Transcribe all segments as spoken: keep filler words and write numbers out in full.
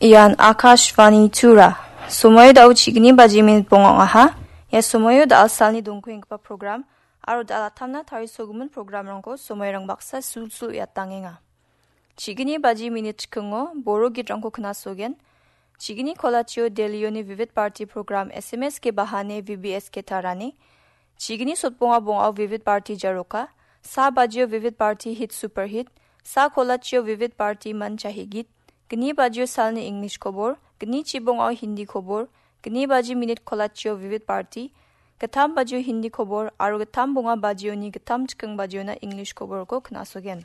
Ian Akashvani Tura. Somoio da·o chigni baji minit bonga ong·aha. Ia somoio da·al salni dongkuenggipa program aro da·al atamna tarisogimin programrangko somoirang baksa sulsul uiatangenga. Chigni baji minit chikingo Boro gitrangko knasogen. Chigni kolachio Delioni Vivid Bharati program S M S ke bahane V B S ke tarani. Chigni sotbonga bongao Vivid Bharati jaroka. Sa bajio Vivid Bharati hit super hit. Sa kolachio Vivid Bharati man chahi git. Gni bajio salni English kobor. Gni chibongao Hindi kobor. Gni baji minit kolachio Vivid Bharati. Gittam bajio Hindi kobor. Aro gittam bonga bajioni gittam chiking bajiona English koborko knasogen.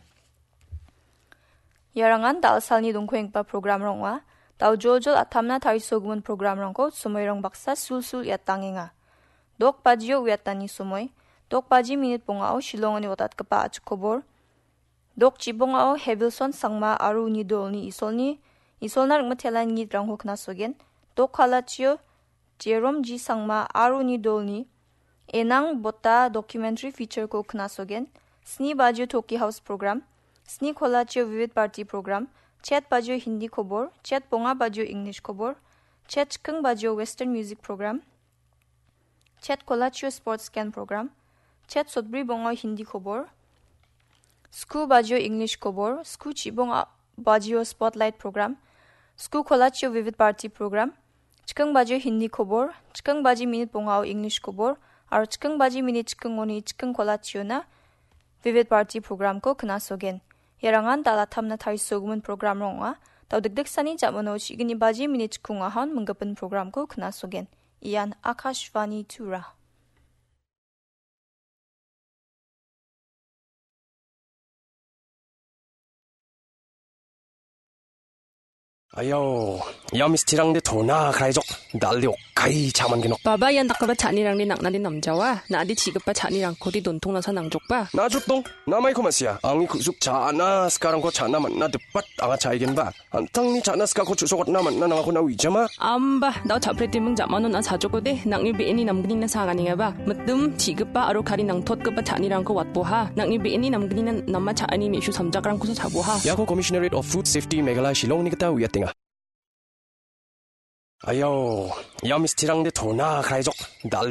Iarangan da·al salni dongkuenggipa programrang ong·a. Da·o joljol atamna tarisogimin programrangko somoirang baksa sulsul iatangenga. Dok bajio uiatani somoi. Dok baji minit bongao Shillongoni otatgipa a·chik kobor. Dok chibongao Hevilson Sangma aro uni dolni Isolni, Isolna ringmitelan ngitrangko knasogen. Dok kolachio Jerome G Sangma aro uni dolni Enang Bota documentary featureko knasogen. Sni bajio Toki House program. Sni kolachio Vivid Bharati program. Chet bajio Hindi kobor. Chet bonga bajio English kobor. Chet chiking bajio Western music program. Chet kolachio sports scan program. Chet sotbri bongao Hindi kobor. Sku bajio English kobor. Sku chibong a-, bajio spotlight program. Sku kolachio Vivid Bharati program. Chiking bajio Hindi kobor. Chiking baji minit bongao English kobor. Aro chiking baji minit chikingoni chiking kolachiona Vivid Bharati programko knasogen. Iarangan da·al atamna tarisogimin programrang ong·a. Da·o dikdiksani jamano chigni baji minit chikungahon minggipin programko knasogen. Ian Akashvani Tura. Ayau, ia mistirangde tona kraijok, dalde okkai chaman genok. Baba, ian dakgipa cha·anirangde nang·nade namjawa, na·ade chi·gipa cha·nirangkode dontong nasa nangjokba. Najotdong, namaiko ma·sia, angni ku·suk cha·na sikarangko cha·na man·na dipat anga cha·aigenba. An·tangni cha·na sikako chu·sokatna man·na nangako na uijama. Amba, da·o cha·pretiming jamano na·a sajokode, nang·ni be·eni namgnina saganengaba. Mitim, chi·gipa aro kari nangtotgipa cha·anirangko watboha. Nang·ni be·eni namgnina nama cha·ani me·su samjakrangkosa chaboha. Iako Commissionerate of Food Safety Meghalaya Shillongni gita uiatenga. Ayau, ia mistirangde tona kraijok. Dal